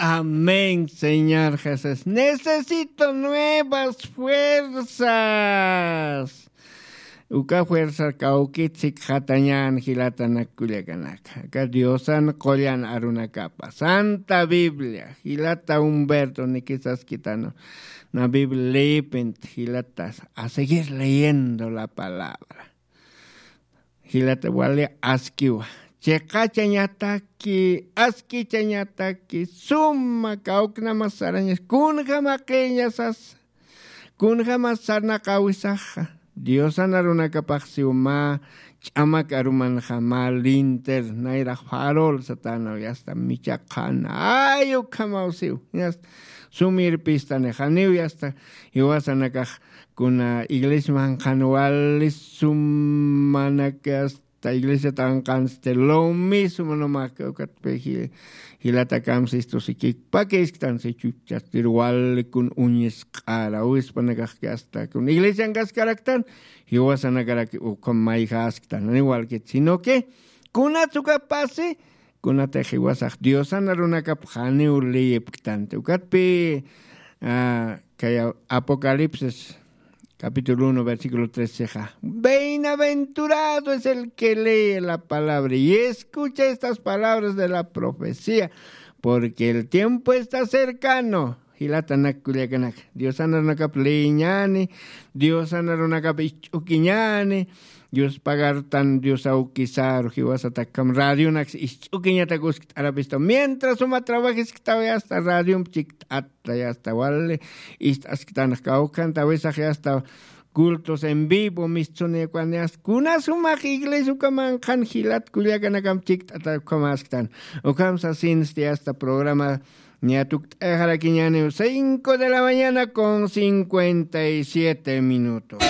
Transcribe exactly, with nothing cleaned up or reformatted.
Amén, Señor Jesús. Necesito nuevas fuerzas. Uka fuerza kawkit sikxatañan jilatanak kullakanaka. Aka Diosan qullan arunakapa. Santa Biblia, jilata Humberto, nikisaskitano. Na Biblia leyipint, jilatas. A seguir leyendo la palabra. Jilata wali askiwa. Chiqachañataki, askichañataki, suma kawknamas sarañas, kunjamaqiñasas, kunjamas sarnaqawisaxa. Diosan arunakapax siw mä ch'amak arumanxa mä linter, nayrax farol satanaw, yasta michaqhan, ay ukhamaw siw, yasta sumirpistani, janiw yasta jiwasanakax kuna iglesiaman qhan wali sumanak yasta iglesiat anqansti lo mismo nomás que ukatpi ji-, jilata kamsistu sikik pakisktan si chuchastir wali kun uñisq'ara wispanakax que hasta kun iglesian kaskaraktan jiwasanakarak ukham mayjasktan igual que sino que kunats uka pasi kunatix jiwasax Diosan arunakap janiw leyipktanti. Ukatpi, ah, kaya Apocalipsis capítulo uno, versículo trece, ja. Bienaventurado es el que lee la palabra y escucha estas palabras de la profecía, porque el tiempo está cercano. Jilatanak kullakanaka, Diosan arunakap leeñani, Diosan arunakap isch'ukiñani, Dios pagartan, Dios awkisaru, jiwasatakkam radionak isch'ukiñatak uskt'arapistaw. Mientras suma trabajisktaw, yasta radiomp chikt'ata, yasta wali ist'asktanx kawkanta, awisax yasta cultos en vivo, mistsuni kwan yasta. Kuna sumax iglesia ukamanqan jilat kullakanakam chikt'ata ukhamasktan. Ukham sasinsti yasta programa ña tukt'ayaxarakiñaniw cinco de la mañana con cincuenta y siete minutos.